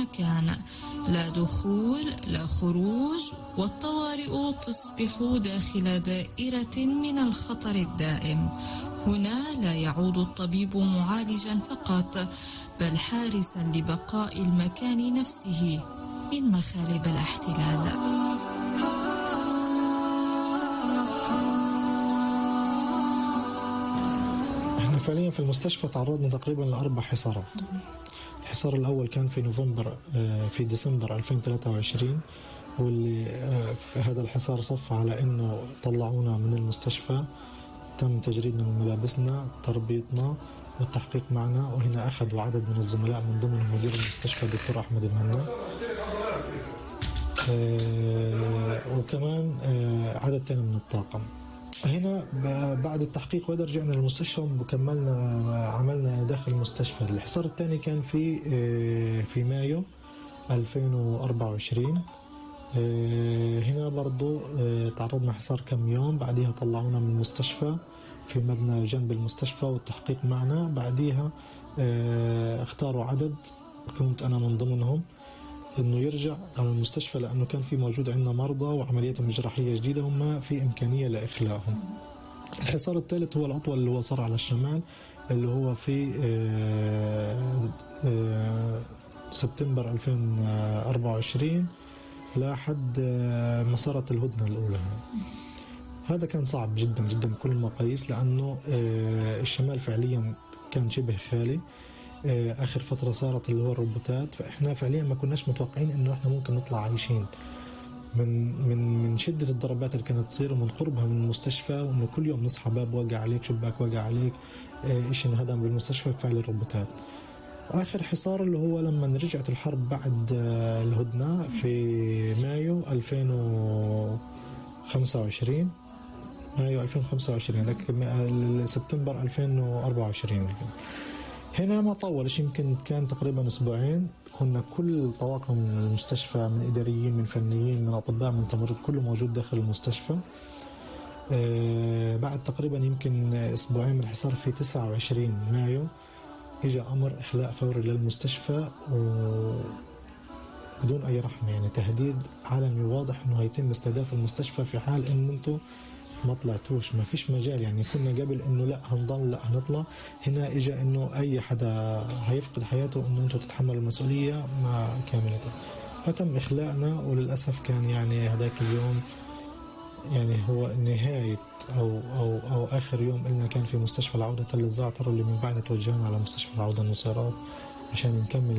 مكان، لا دخول لا خروج، والطوارئ تصبح داخل دائرة من الخطر الدائم. هنا لا يعود الطبيب معالجا فقط، بل حارسا لبقاء المكان نفسه من مخالب الاحتلال. احنا فعليا في المستشفى تعرضنا تقريبا ل4 حصارات. الحصار الأول كان في ديسمبر 2023، واللي في هذا الحصار صف على إنه طلعونا من المستشفى، تم تجريدنا من ملابسنا، تربيطنا والتحقيق معنا. وهنا أخذوا عدد من الزملاء من ضمنهم مدير المستشفى الدكتور أحمد المهنا، وكمان عدد تاني من الطاقم. هنا بعد التحقيق وهذا رجعنا للمستشفى وكملنا عملنا داخل المستشفى. الحصار الثاني كان في مايو 2024. هنا برضو تعرضنا حصار كم يوم، بعدها طلعونا من المستشفى في مبنى جنب المستشفى والتحقيق معنا. بعدها اختاروا عدد، كنت أنا من ضمنهم، انه يرجع على المستشفى، لانه كان في موجود عندنا مرضى وعملياتهم الجراحيه جديده وما في امكانيه لاخلاءهم. الحصار الثالث هو الاطول، اللي هو صار على الشمال، اللي هو في سبتمبر 2024 لحد ما صارت الهدنه الاولى. هذا كان صعب جدا جدا بكل المقاييس، لانه الشمال فعليا كان شبه خالي. آخر فترة صارت اللي هو الروبوتات، فإحنا فعليا ما كناش متوقعين إنه إحنا ممكن نطلع عايشين من شدة الضربات اللي كانت تصير ومن قربها من المستشفى، وإنه كل يوم نصحى باب وقع عليك، شباك وقع عليك، إشي انهدم بالمستشفى بفعل الروبوتات. آخر حصار اللي هو لما رجعت الحرب بعد الهدنة في مايو 2025، لك سبتمبر 2024. هنا ما طولش، يمكن كان تقريبا أسبوعين. كنا كل طواقم المستشفى، من إداريين من فنيين من أطباء من تمريض، كله موجود داخل المستشفى. بعد تقريبا يمكن أسبوعين من الحصار في 29 مايو إجا أمر إخلاء فوري للمستشفى بدون أي رحمة، يعني تهديد علني واضح إنه هيتم استهداف المستشفى في حال إن أنتم ما طلعتوش، ما فيش مجال. يعني كنا قبل انه لا هنضل لا هنطلع، هنا اجا انه اي حدا هيفقد حياته انه انتم تتحملوا المسؤولية مع كاملة. فتم اخلاءنا، وللأسف كان يعني هذاك اليوم يعني هو نهاية او اخر يوم لنا كان في مستشفى العودة تل الزعتر، اللي من بعد توجهنا على مستشفى العودة النصيرات عشان نكمل